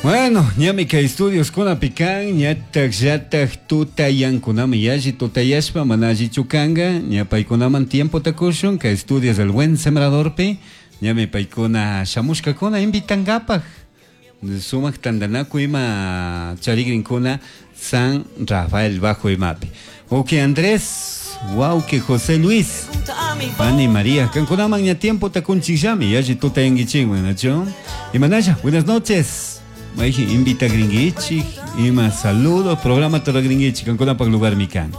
Bueno, ñami kay estudioskunapi kan, ñatak llatak tutayankunami yalli tutayashpa mana allichu kanka, ña paykunaman tiempota kushun kay estudios del Buen Sembradorpi, ñami paykuna shamushkakuna invitankapak sumak tantanakuy ima charigrinkuna San Rafael Bajo imapi. Wawki Andrés, wawki José Luis, pani María, kankunaman ña tiempota kunchikllami, yalli tutayankichikman, nachu? Imanalla, buenas noches. Mayjin invitagrinkichik, ima saludo, programa ruragrinkichik, kankunapak lugarmi kan.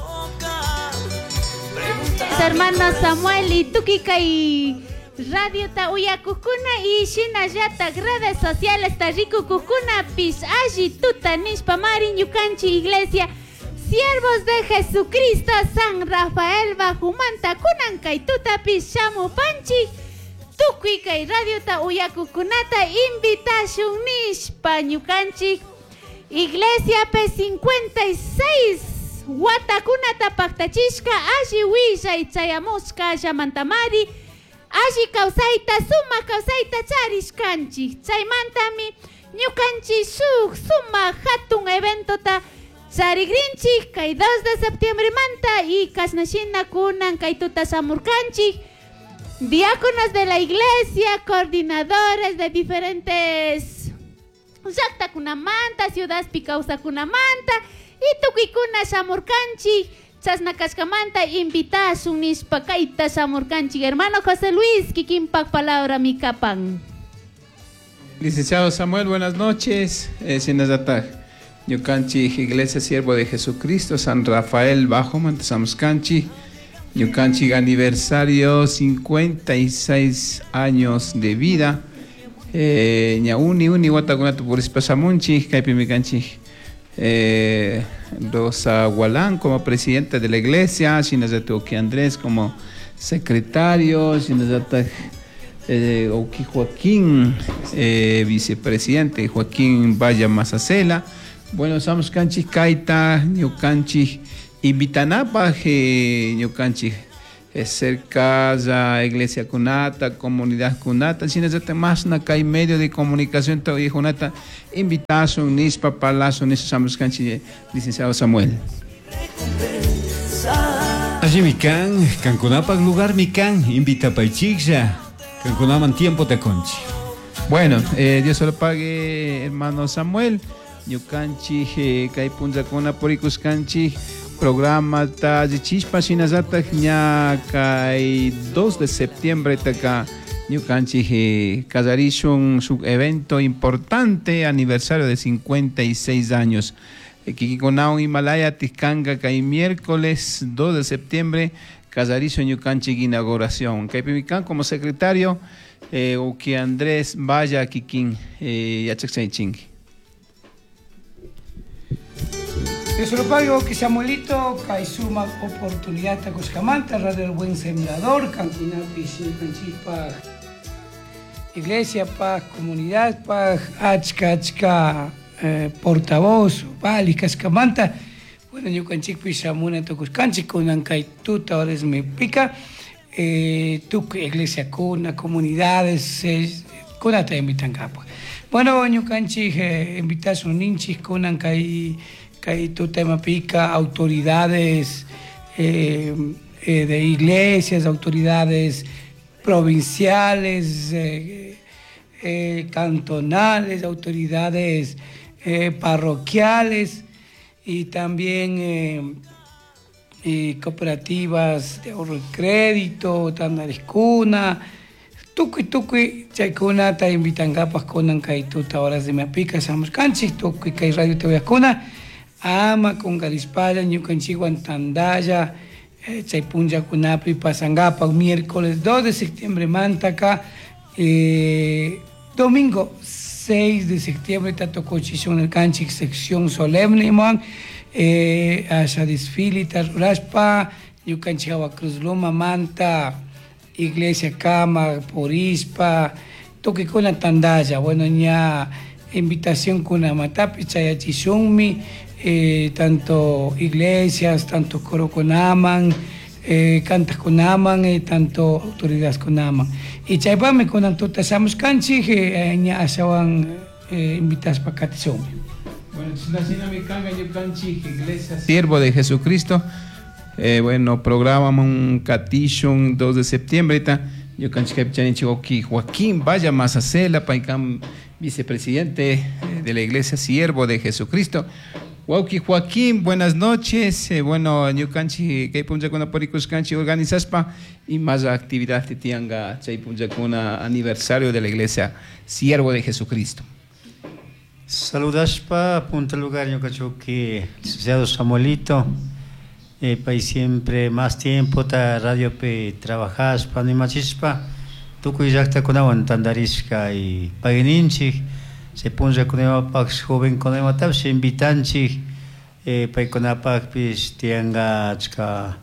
Hermano Samuel y tukuy kay radiota uyakukuna y shinallatak redes sociales ta rikukukunapish alli tuta nishpa mari ñukanchik iglesia Siervos de Jesucristo San Rafael Bajumanta kunan kay tutapish shamupanchik tukuy kay radiota uyakukunata invitashun nishpa ñukanchik iglesiapi 56 watakunata paktachishka alli willay chayamushka llamantamari alli kawsayta sumak kawsayta charishkanchik chaymantami ñukanchik shuk sumak hatun eventota charigrinchik kay 2 de septiembre manta y kashnashina kunan kay tuta shamurkanchik diáconos de la iglesia, coordinadores de diferentes llaktakunamanta, ciudadpi kawsakunamanta y tukuykuna shamurkanchik chashna kashkamanta invitashun nishpa kayta shamurkanchik hermano José Luis kikinpak palabra mikapan. Licenciado Samuel, buenas noches. Shinallatak ñukanchik Iglesia Siervo de Jesucristo San Rafael Bajo Mantasamuskanchik ñukanchik aniversario 56 años de vida. Ña uni uni watakunata purishpa shamunchik kaypimi kanchik Rosa Gualán como presidenta de la iglesia, shinallatak Andrés como secretario, shinallatak Oki Joaquín, vicepresidente Joaquín Valla Mazacela. Bueno, estamos kanchik kayta, ñukanchik invitanapaj, ñukanchik cerca ya iglesia kunata, comunidad kunata, shinallatak mashna kay medio de comunicación junata invitashun nishpa parlashun nishpa shamush kanchik, licenciado Samuel. Allimi kan, kankunapak lugarmi kan, invitapaychiklla, kankunaman tiempota kunchik. Bueno, Dios se lo pague, hermano Samuel. Ñukanchik kay punllakuna purikushkanchik programa ta allichishpa shinallatak ña kay 2 de septiembre taka ñukanchik kallarishun shuk evento importante, aniversario de 56 años. Kikikunawan Himalaya tiskanka kay miércoles 2 de septiembre kallarishun ñukanchik inauguración. Kaypimi kan como secretario uki Andrés Valla kikin yachakchaychinki. Dios lo pague, que Samuelito, kay suma oportunidad takuskamanta, Radio El Buen Sembrador, kankunapi ñukanchikpaj, iglesia paj, comunidad paj, achka, achka portavoz, vali kashkamanta. Bueno, ñukanchikpi shamuna tukushkanchik, kunan kay tuta horas me pica, tukuy iglesia kuna, comunidades, kunata invitankapaj. Bueno, ñukanchik invitashun ninchik kunan kay kay tuta imapika, autoridades de iglesias, autoridades provinciales, cantonales, autoridades parroquiales y también cooperativas de ahorro y crédito, tandariscuna, tukuy tukuy chaykunata invitankapak kunan kay tuta horas de imapika shamushkanchik, tukuy kay radio te ama kunkarishpalla ñukanchikwan tandalla chay punllakunapi pasankapak miércoles 2 de septiembre mantaka, domingo 6 de septiembre tatukuchishun nirkanchik sección solemne imawan, asha desfile tarurashpa ñukanchik hawa Cruz Loma manta iglesia kama purishpa tukuykuna tandalla. Bueno, ña invitación kunamatapi chayachishunmi, tanto iglesias, tanto coro kunaman, cantas kunaman, tanto autoridades kunaman. Y chaypami kunan tuta shamushkanchik, ña ashawan Invitashpa katishunmi. Bueno, shinami kanga ñukanchik Iglesia Siervo de Jesucristo. Bueno, programa un katishun 2 de septiembre ta ñukanchik kaypi wawki Joaquín Vaya Mazacela, paykan vicepresidente de la Iglesia Siervo de Jesucristo. Wawki Joaquín, buenas noches. Bueno, ñukanchik kay punllakuna purikushkanchik organizashpa y más actividad tianga chay punllakuna aniversario de la Iglesia Siervo de Jesucristo. Saludashpa, punta lugar ñukachuki licenciado Samuelito, pay siempre más tiempo ta radiopi trabajashpa animachishpa tukuy llaqtakunawan tantarishka y payninchik chay punllakunapaq jovenkunamatapish invitanchik, paykunapaqpish tiyanka achka,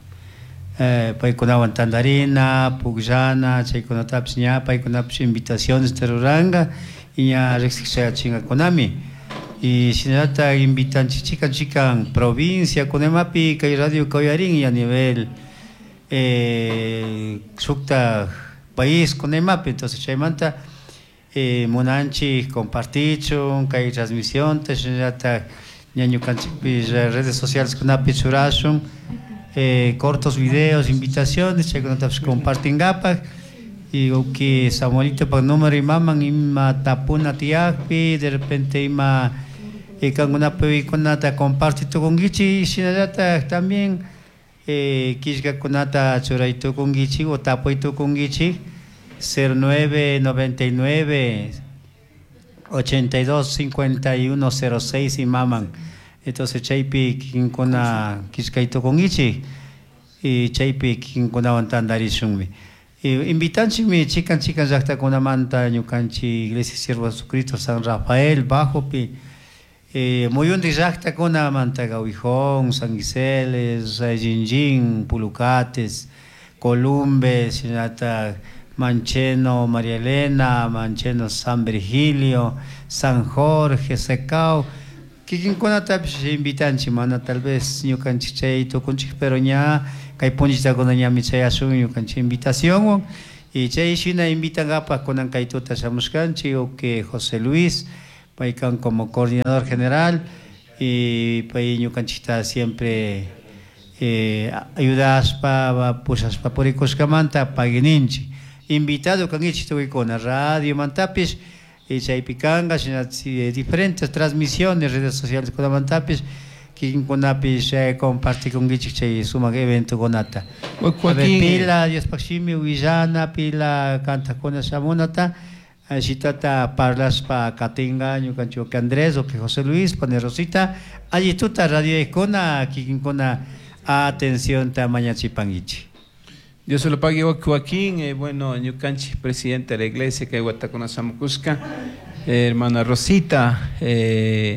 paykunawan tantarina, pukllana, chaykunatapish ña paykunapish invitaciones ruranka y ña riqsikchayachinkakunami. Y shinallatak invitanchik chikan chikan provincia kunamapi kay radio kawayarin y a nivel shukta país kunamapi. Entonces chaymanta munanchik compartichun kay transmisión shinallatak ña ñukanchikpish redes sociales kunapi churashun, cortos videos, invitaciones chaykunatapish compartinkapak. Y que Samuelito pa número y maman ima tapuna tiyakpi, de repente ima kankunapi kunata comparti tukunkichik, shinallatak también killkakunata churay tukunkichik o tapuy tukunkichik cero nueve noventa y nueve ochenta y dos cincuenta y uno cero seis y maman. Entonces chaypi kinkuna killkay tukunkichik y chaypi kinkunawan tantarishunmi. Invitanchikmi chikan chikan llaqtakunamanta ñukanchik Iglesia Siervo de Jesucristo San Rafael Bajopi, muyunti llaqtakunamanta Gawijón, San Giseles, Jinjin, Pulucates, Columbes, shinata Mancheno, María Elena, Mancheno, San Virgilio, San Jorge, Secao. Kikinkunatapish invitanchik, mana tal vez ñukanchik chay tukunchik, pero ña kay punchitakuna ñami chayashun ñukanchik invitacionwan. Y chay shina invitankapak kunan kay tuta shamushkanchik, o que José Luis, paykan como coordinador general, y pay ñukanchikta siempre ayudashpa, pushashpa purikushkamanta paguininchik. Invitado kankichik tukuykuna radio mantapish, y chaypi kanka, shina diferentes transmisiones, redes sociales kunamantapish, kikinkunapish compartikunkichik chay sumak eventokunata. Joaquín, A ver, pila Diospaq shimi willana, pila kantakuna shamunata, shitata parlashpa katinka ñukanchik Andrés o que José Luis, pane Rosita, alli tuta radio ejkuna, kikinkuna atención ta mañachipankichik. Dios se lo pague, Joaquín, bueno, ñukanchik presidente de la iglesia que Huatacona Samucusca, hermana Rosita,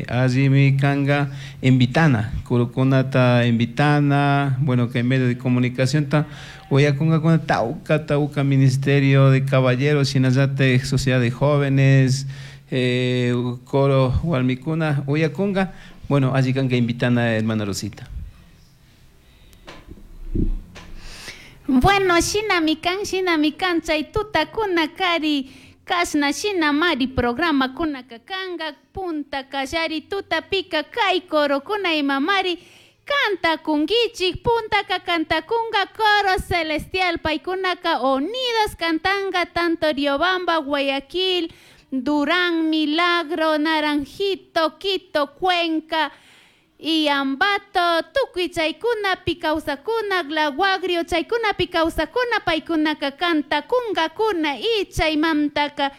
allí kanga invitana, kurukunata invitana, bueno, que en medio de comunicación ta, oyakunga con tauca, tauca ministerio de caballeros, sinayate, sociedad de jóvenes, coro hualmicuna, oyakunga, bueno, allí kanga invitana, hermana Rosita. Bueno, shina mikan, shina mikan, chay tutakuna kari, kasna shina mari programa kuna kakanga, punta kallari tuta pica kay coro kuna imamari, canta kungichik, punta ka canta kunga, coro celestial, paikunaka unidos cantanga, tanto Riobamba, Guayaquil, Durán, Milagro, Naranjito, Quito, Cuenca, y Ambato, tukuy chaykuna pikawsakuna, Glaguagrio chaykuna pikawsakuna, paykunaka kantakunkakuna, y chaymantaka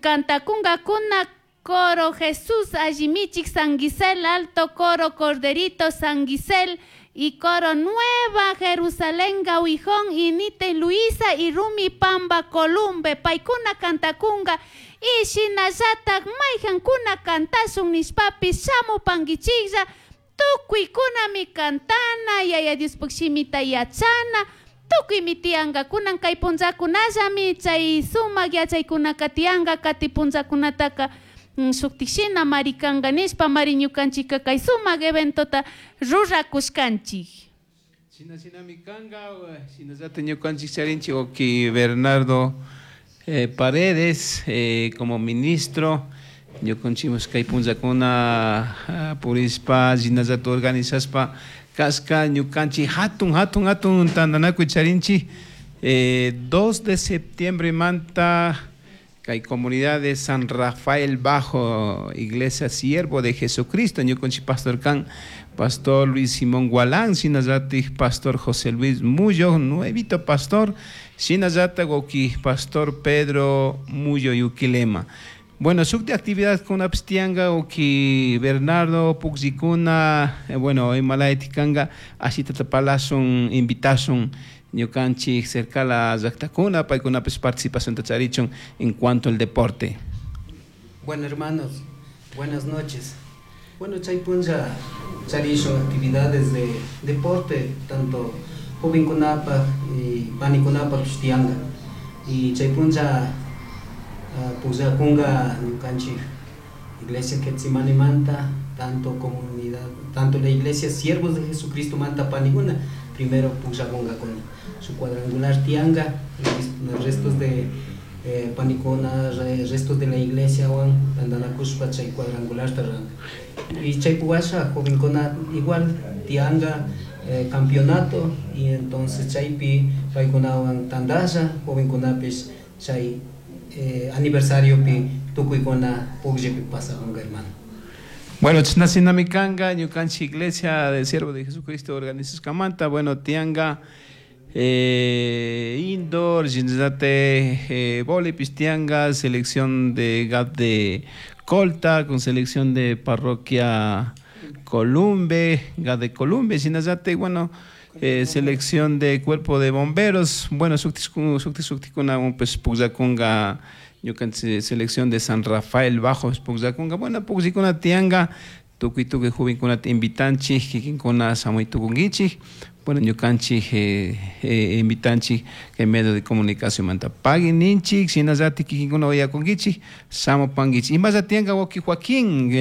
kantakunkakuna, coro Jesús, Allimichik, San Gisel, Alto Coro, Corderito, San Gisel, y coro Nueva Jerusalén, Gauijón, y Nite, Luisa, y Rumi, Pamba, Columbe, paykuna kantakunga, y shinallatak mayjankuna kantashun nishpapi, shamu pankichiklla, tukuy kunami kantana, yaya Diospuk shimita yachana, tukuy mi tiyanka, kunan kay punllakunallami chay sumak yachaykunaka tiyanka, kati punllakunataka, shuktik shina marikanka nishpa, mari ñukanchika kay sumak eventota rurakushkanchik. Shina shinami kanka, shinallata ñukanchik charinchik, oki Bernardo Paredes, como ministro Ñukanchikpas kay punllakuna purispa shinallata organizaspa kasqa ñukanchik hatun hatun hatun tantanakuy charinchik 2 de septiembre manta kay comunidad de San Rafael Bajo, Iglesia Siervo de Jesucristo, ñukanchik pastor kan Pastor Luis Simón Gualán, shinallatik Pastor José Luis Muyo, nuevito pastor, shinallatak wawki Pastor Pedro Muyo Yuquilema. Bueno, sukti actividad kunapis tiyanka wawki Bernardo pukllikuna, bueno, imalaytik kanka ashitata parlashun, invitashun ñukanchik cercala llaktakuna, paykunapis participacionta charichun en cuanto al deporte. Bueno, hermanos, buenas noches. Bueno, chay punlla charishun actividades de deporte, tanto jovenkunapaj y panikunapaj tiyanka. Y chay punlla pukllakunka ñukanchik Iglesia Getsemanimanta, tanto comunidad, tanto la Iglesia Siervos de Jesucristo manta panikuna, primero pukllakunkakuna. Su cuadrangular tiyanka, los restos de panikuna, restos de la iglesia wan tantanakushpa chay cuadrangular ranka. Y chay puwasha jovenkuna igual tiyanka campeonato, y entonces chaypi paykunawan tandasha jovenkunapish chay aniversariopi tukuykuna pukllaypi pasakunka, hermano. Bueno, chashnashinami kanka ñukanchik Iglesia del Siervo de Jesucristo organizashkamanta, bueno, tiyanka indoor, shinallate voleibol tiyanka, selección de GAP de Colta, con selección de parroquia Columbe, GAP de Columbe, shinallate, bueno, selección de cuerpo de bomberos, bueno, sukti sukti suktikuna pues pukllakunka ñukanchik selección de San Rafael Bajo pukllakunka, bueno, pukllikuna tiyanka, tukuy tukuy jovenkunata invitanchik, kikinkuna shamuy tukunkichik, bueno, ñukanchik invitanchik kay medio de comunicación manta pagui ninchik, shinallatik kikinkuna uyakunkichik, shamupankichik. Imalla tiyanka wawki Joaquín,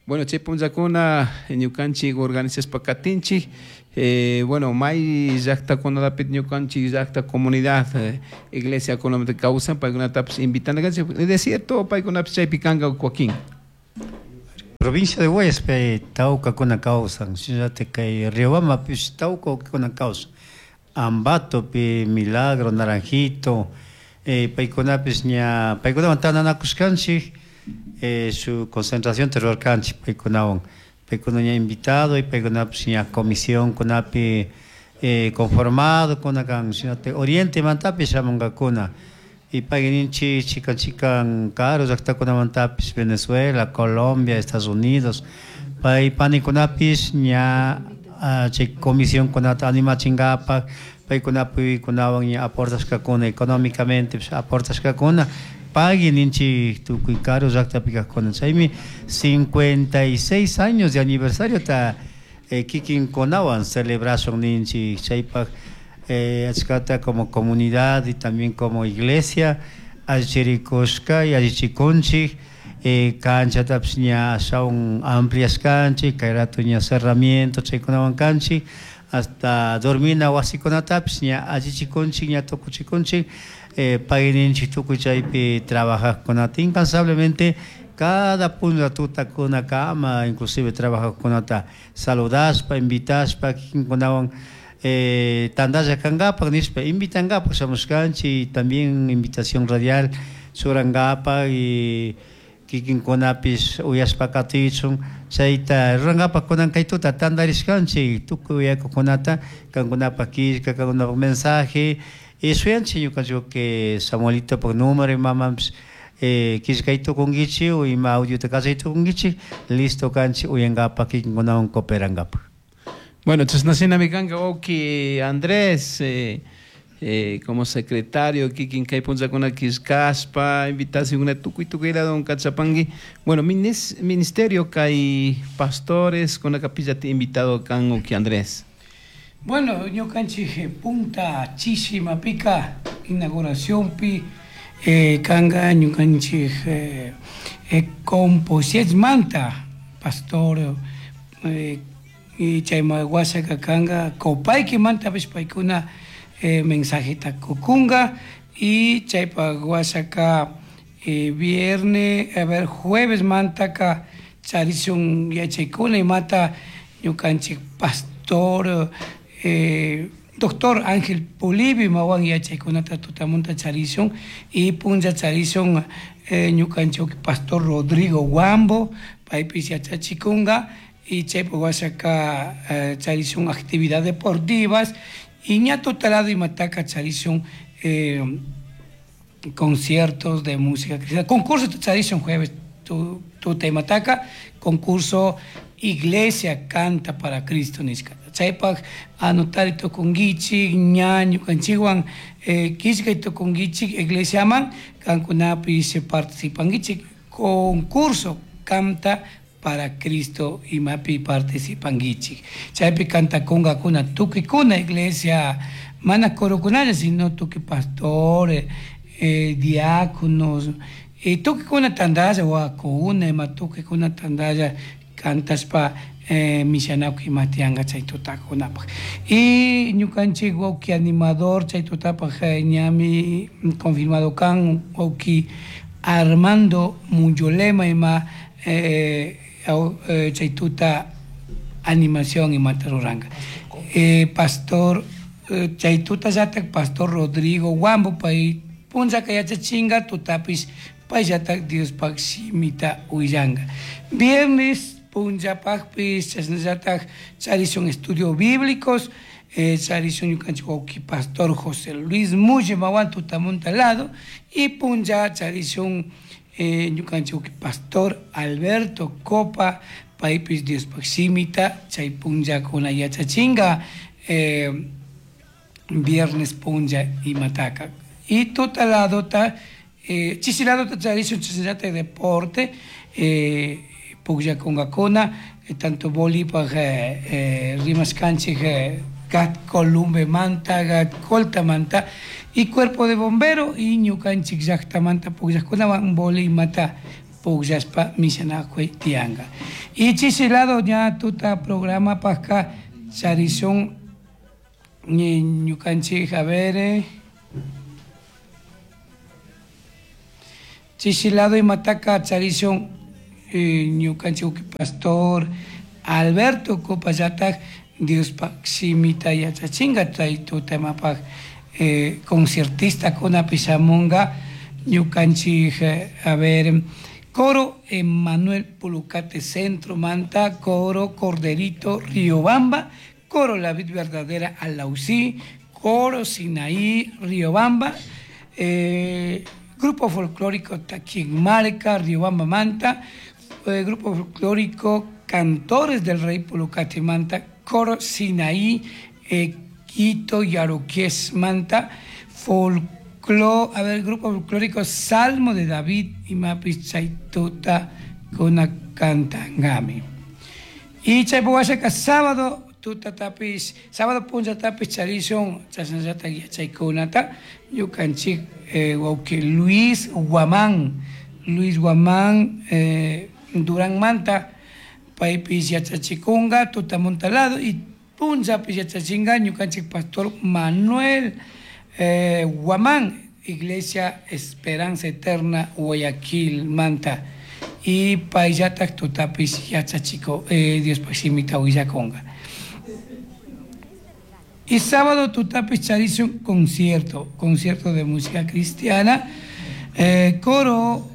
bueno, chay punllakuna ñukanchik organizashpa katinchik, bueno, may llaktakunapi ñukanchik llakta comunidad, iglesia kunamanta kawsan, paykunatapish invitana kanchik, de cierto, paykunapish chaypi kanka Joaquín. Provincia de Guayas pe tawkakuna kawsan, shinallatik kay Riobambapish tawkakuna kawsan, Ambatopi, Milagro, Naranjito, paykunapish ña paykunawan tantanakushkanchik, su concentración rurarkanchik paykunawan, paykuna ña invitado y paykunapish ña comisión kunapi conformado kuna kan, shinallatik Oriente mantapish shamunkakuna, y payninchik chikan chikan karu llaktakunamantapish Venezuela, Colombia, Estados Unidos, pay panikunapish ña chay comisión kunata animachinkapak, paykunapi kunawan ña aportashkakuna económicamente aportashkakuna, pagui ninchik tukuy karu llaktapi kajkuna, chaymi 56 años de aniversario ta kikinkunawan celebración ninchik, chaypak achkata como comunidad y también como iglesia allichirikushka y allichikunchik, canchatapish ña ashawan ampliashkanchik, kay rato ña cerramiento chaykunawan kanchik, hasta dormina wasikunatapish ña allichikunchik, ña tukuchikunchik, pagui ninchik tukuy chaypi trabajajkunata incansablemente cada punlla tutakunakama inclusive trabajajkunata saludashpa, invitashpa kikinkunawan tantalla kankapak nishpa invitankapak shamushkanchik, y también invitación radial churankapak y kikinkunapish uyashpa katichun chayta rurankapak kunan kay tuta tantarishkanchik tukuy uyakukunata kankunapak killka, kankunapak mensaje, y shuyanchik ñukanchik que Samuelitopak número imamanpish killkay tukunkichik o ima audiota kachay tukunkichik, listo kanchik uyankapak kikinkunawan cooperankapak. Bueno, chashnashinami kanka wawki Andrés, como secretario kikin kay punllakuna killkashpa invitacionkuna tukuy tukuy ladowan kachapanki. Bueno, ministerio kay pastores kuna capillata invitado kan wawki Andrés. Bueno, ñukanchik punta chishimapika inauguracionpi kanka ñukanchik Composietmanta pastor y chayma wasaka kanka Copayquimantapish paykuna mensajeta kukunga y chaypa wasaka Viernes, a ver, jueves mantaka charishun yachaykuna imata ñukanchik pastor doctor Ángel Polibio imawan yachaykunata tutamunta charishun y punlla charishun ñukanchik pastor Rodrigo Huambo paypis yachachikunga y chaypi washaka charishun actividades deportivas y ña tutalado imataka charishun conciertos de música cristiana, concurso charishun jueves tuta imataka concurso Iglesia Canta para Cristo nishka. Chaypaq anotari tukunkichik ña ñukanchikwan killkay tukunkichik iglesiaman kankunapish participankichik concurso Canta para Cristo imapi participankichik. Chaypi cantakunkakuna tukuykuna iglesia mana corokunalla sino tukuy pastores, diáconos, tukuykuna tantalla wawakuna ima tukuykuna tantalla cantashpa mishanakuy ima tiyanka chay tutakunapaq. Y ñukanchik wawki animador chay tutapaq ñami confirmado kan wawki Armando Muyolema ima chay tuta animación imata ruranka. Pastor chay tutallatak pastor Rodrigo Huambo pay punllaka yachachinka tutapis payllatak Diospaq shimita willanka. Viernes punllapaqpis chashnallatak charishun estudios bíblicos, charishun ñukanchik wawki pastor José Luis Mulle mawan tutamunta lado y punlla charishun ñukanchik wawki pastor Alberto Copa paypis Diospaq shimita chay punllakuna yachachinka viernes punlla imataka. Y tutaladota chisiladota charishun chashnallatak deporte pukllakunkakuna tanto bolipaq rimashkanchik Gat Columbe manta, Gat Colta manta y cuerpo de bombero y ñukanchik llaktamanta pukllajkunawan boli imata pukllashpa mishanakuy tiyanka. Y chisilado ña tuta programa pajka charishun ñukanchik a ver chisilado imataka charishun ñukanchik pastor Alberto Copallatak Diospaq shimita yachachinka chay tutamapaq concertista kunapi shamunka ñukanchik a ver coro Emanuel Pulucate Centro Manta, coro Corderito Riobamba, coro La Vid Verdadera Alausí, coro Sinaí Riobamba, grupo folclórico Taquinmarca Riobamba Manta, grupo folclórico Cantores del Rey Pulucate Manta, coro Sinaí, Quito Yaruqués Manta, folclor, a ver, grupo folclórico Salmo de David y Mapis Chaituta con Cantangami. Y Chaypuhuashaca sábado tuta tapis, sábado punlla tapis charishun chashnallata yachaykunata ñukanchik wawki Luis Guamán, Luis Guamán Durán Manta paypis yachachikunka tutamunta lado y punllapis yachachinka ñukanchik pastor Manuel Guamán, Iglesia Esperanza Eterna Guayaquil Manta y payllatak tutapis yachachiko Diospaq shimita willakunka. Y sábado tutapis charishun concierto, concierto de música cristiana, coro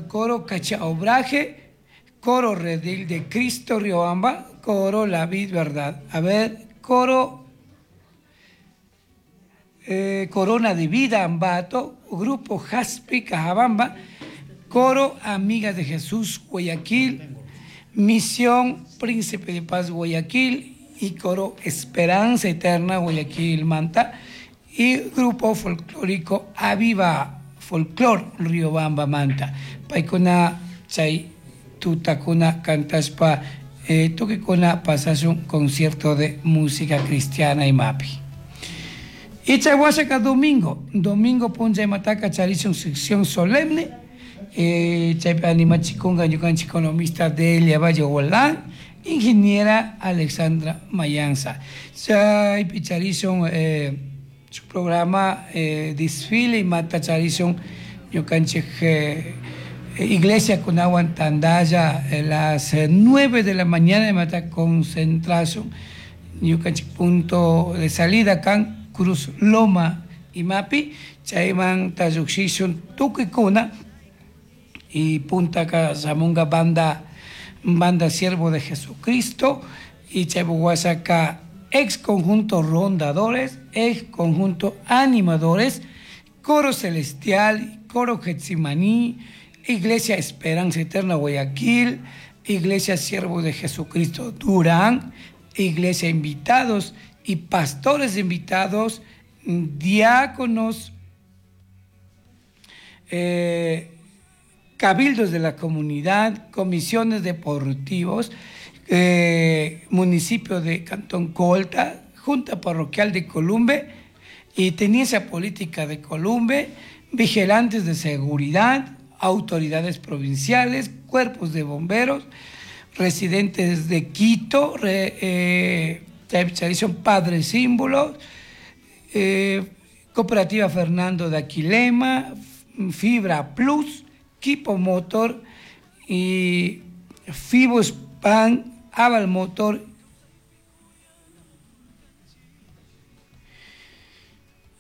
coro Cachaobraje, coro Redil de Cristo Riobamba, coro La Vid Verdad. A ver, coro Corona de Vida Ambato, grupo Jaspi Cajabamba, coro Amigas de Jesús Guayaquil, Misión Príncipe de Paz Guayaquil y coro Esperanza Eterna Guayaquil Manta y grupo folclórico Aviva Folclor Riobamba Manta. Paykuna chay tutakuna cantashpa tukikuna pasashun concierto de música cristiana y mapi. Y chay washaka domingo, domingo punlla imataka charishun sección solemne, chaypi animachikunka ñukanchik economista Delia Valle Hualán, ingeniera Alexandra Mayanza. Chaypi charishun su programa desfile imata charishun Ñukanchik iglesia kunawan tandalla las 9 de la mañana imata concentración ñukanchik punto de salida kan Cruz Loma imapi chayman lluqshishun tukuykuna y puntaka shamunga banda Siervo de Jesucristo y chaypuk washaka ex conjunto Rondadores, ex conjunto Animadores, Coro Celestial, Coro Getsimani, Iglesia Esperanza Eterna Guayaquil, Iglesia Siervo de Jesucristo Durán, Iglesia Invitados y Pastores Invitados, diáconos, cabildos de la comunidad, comisiones deportivos, municipio de Cantón Colta, Junta Parroquial de Columbe y Tenencia Política de Columbe, vigilantes de seguridad, autoridades provinciales, cuerpos de bomberos, residentes de Quito, Padre Símbolo, Cooperativa Fernando de Aquilema, Fibra Plus, Quipo Motor y Fibos Pan, Aval Motor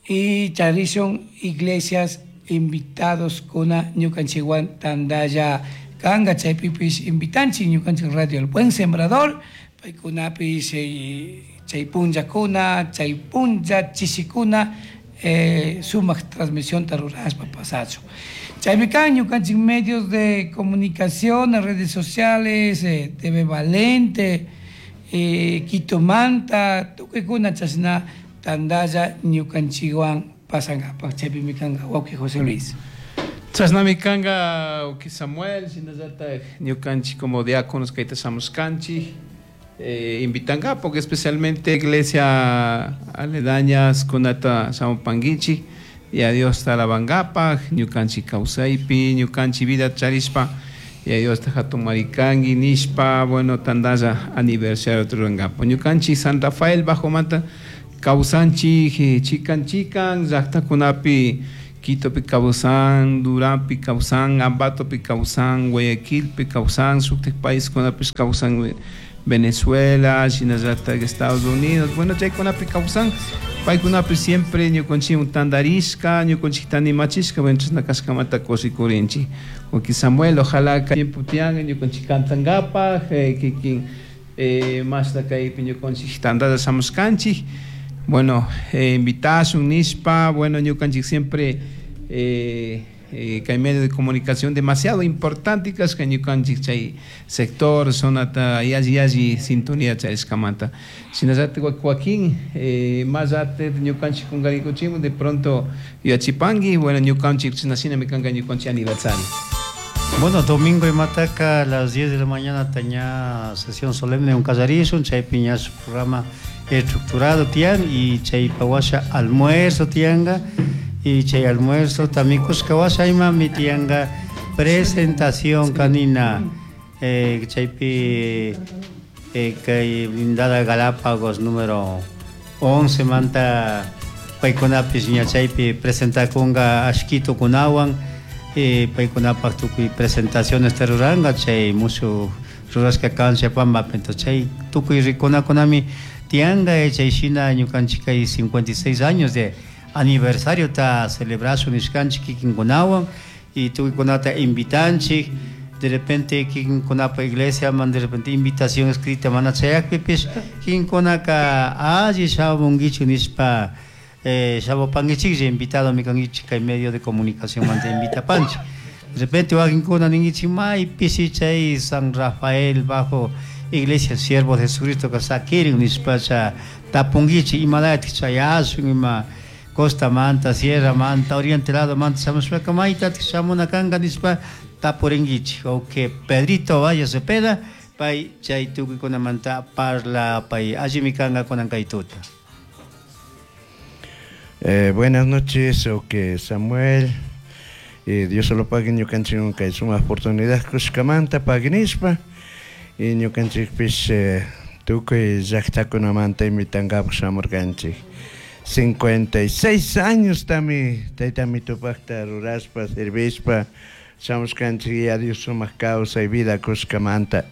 y Tradición Iglesias invitados kuna ñukanchikwan tandalla kanga chaypipis invitanchik ñukanchik Radio El Buen Sembrador paykunapis chay punllakuna chay punlla chishikuna sumaq transmisión rurashpa pasachun. Chaymi kan ñukanchik medios de comunicación, redes sociales, TV Valente, Quito Manta, tukuykuna chashna tandalla ñukanchikwan pasankapaq chaypimi kanka wawqi José Luis. Chashnami kanka wawqi Samuel, shinallatak ñukanchik como diáconos kayta shamushkanchik invitankapak especialmente iglesia aledañas kunata shamupankichik y a Dios alabankapak ñukanchik kawsaypi ñukanchik vida charishpa y a Dios hatunmarikanki nishpa bueno tandalla aniversario rurankapak ñukanchik San Rafael Bajo Manta kawsanchik chikan chikan llaqtakunapi Quitopi kawsan, Duranpi kawsan, Ambatopi kawsan, Guayaquilpi kawsan, shuktik paiskunapish kawsan Venezuela, shinallatak Estados Unidos, bueno chaykunapi kawsan, paykunapi siempre ñukanchik tandarishka, ñukanchik tanimachishka, bueno chashna kashkamanta kushikurinchik. Wawqi Samuel, ojalá kay tiempo tiyan ñukanchik kantankapaj, kikin mashna kaypi ñukanchik tandalla shamushkanchik. Bueno, invitashun nishpa, bueno ñukanchik siempre kay medio de comunicación demasiado importante kashka ñukanchik chay sector zonata yalli yalli sintonía charishkamanta. Shinallatak Joaquín, mallate ñukanchik kunkarikuchimun de pronto yuyachipanki, bueno ñukanchik chashnashinami kanka ñukanchik aniversario. Bueno, domingo imataka a las 10 de la mañana tenía sesión solemne un casarishun, chaypi ña su programa estructurado tian y chaypa washa almuerzo tianga y chay almuerzo también kushka washa imami tianga presentación canina chaypi kay blindada Galápagos número 11 manta paykunapis ña chaypi presentakunga ashkito kunawan paykunapaq tukuy presentaciones ruranga chay mushu rurashka kancha pambapi entonces chay tukuy rikunakunami tianga chay shina ñukanchik kay 56 años de aniversario ta celebración nishkanchik kikinkunawan y tukuykunata invitanchik de repente kikinkunapa iglesia man de repente invitación escrita mana chayakpipish kikinkunaka alli shamunkichik nishpa shamupankichiklla invitado mikankichik kay medio de comunicación manta invitapanchik. De repente wakinkuna ninkichik maypishi chay San Rafael bajo Iglesia Siervo de Jesucristo ka sakirin nishpacha tapunkichik imalayatik chayashun ima costa manta, sierra manta, oriente lado manta shamushpaka maytatik shamuna kanka nishpa tapurinkichik. Ok, Pedrito Valle Cepeda pay chay tukuykunamanta parla pay allimi kanka kunan kay tuta. Buenas noches, ok Samuel, Dios lo pague ñukanchik kay sumaq oportunidad kushkamanta paginishpa y ñukanchikpish tukuy llaqtakunamanta invitankapaq shamurkanchik. 56 años tami tayta mitupaqta ruraspa servishpa shamushkanchik ya Dios sumaq kawsay vida kushkamanta.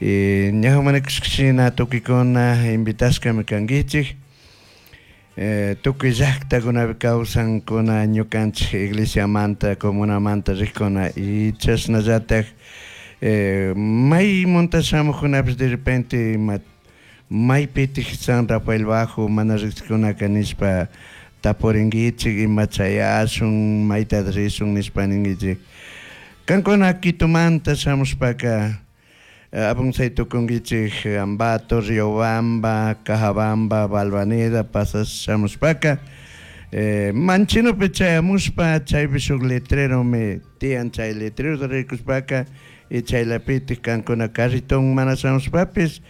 Ñawpa kushkashina tukikuna invitashkami kankichik. Tukuy llaqtakunapi kawsankuna ñukanchik iglesiamanta comunamanta riqkuna y chashnallatak maymunta shamuqkunapish de repente maypitik San Rafael Bajo mana riqsikunaka nishpa tapurinkichik ima chayashun mayta rishun nishpa ninkichik. Kankuna Quitumanta shamushpaka apunsay tukunkichik Ambato, Riobamba, Cajabamba, Balvanera pasas shamushpaka Manchinopi chayamushpa chaypi shuk letreromi tiyan chay letrerota rikushpaka y chaylapitik kankuna carriton mana shamushpapis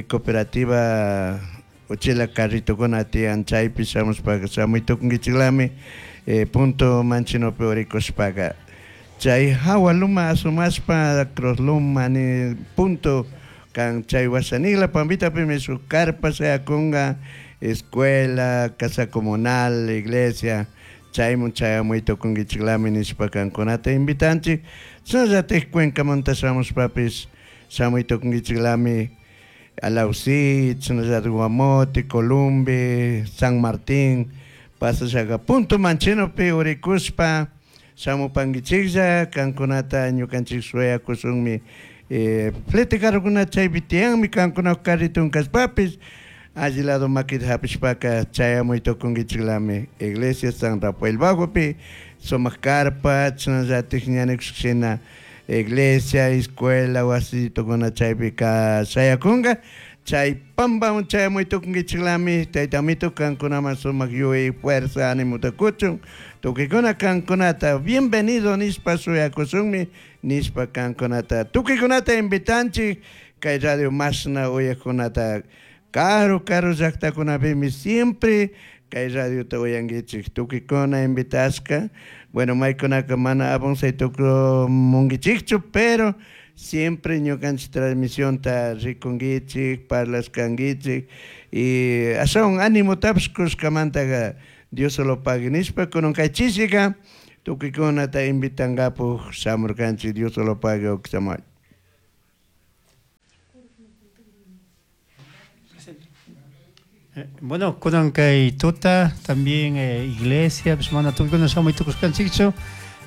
cooperativa uchila carritokuna tiyan chaypi shamushpaka shamuy tukunkichiklami punto Manchinopi urikushpaka. Chay hawa luma asumashpa Cross Luma ni punto kan chay washanigla pampitapimi shuk carpa shayakunga escuela, casa comunal, iglesia, chaymun chayamuy tukunkichiklami nishpa kankunata invitanchik. Chashnallatik Cuencamanta shamushpapis shamuy tukunkichiklami Alausí, chashnallatik Guamote, Columbe, San Martín, pasashaka punto Manchinopi urikushpa shamupankichiklla kankunata ñukanchik shuyakushunmi flete carrokuna chaypi tiyanmi kankuna carritun kashpapis alli lado makita hapishpaka chayamuy tukunkichiklami iglesia San Rafael Bajopi sumaq carpa chashnallatik ñanikushkashina iglesia, escuela, wasitokuna chaypika shayakunka chay pampaman chayamuy tukunkichiklami tayta amito kankunaman sumaq yuyay fuerza animuta kuchun tukuykuna kankunata bienvenido nishpa shuyakushunmi nishpa kankunata tukuykunata invitanchik kay radio mashna uyaqkunata karu karu llaqtakunapimi siempre kay radiota uyankichik tukuykuna invitashka. Bueno, maykunaka mana apunsay tukumunkichikchu pero siempre ñukanchik transmisionta rikunkichik parlashkankichik y ashawan animutapish kushkamantaka Dios solo pague nishpa kunan kay chishika tukuykunata invitankapuk shamurkanchik Dios solo pague Samuel. Bueno, kunan kay tuta también iglesia, pues mana tukuykuna shamuy tukushkanchikchu,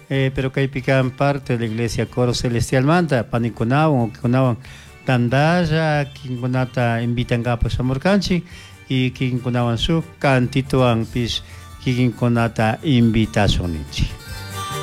pero kaypi kan parte de la iglesia Coro Celestial manta panikunawan uqikunawan tantalla kikinkunata invitankapak shamurkanchik y kikinkunawan shuk cantitowanpish kikinkunata invitashun ninchik.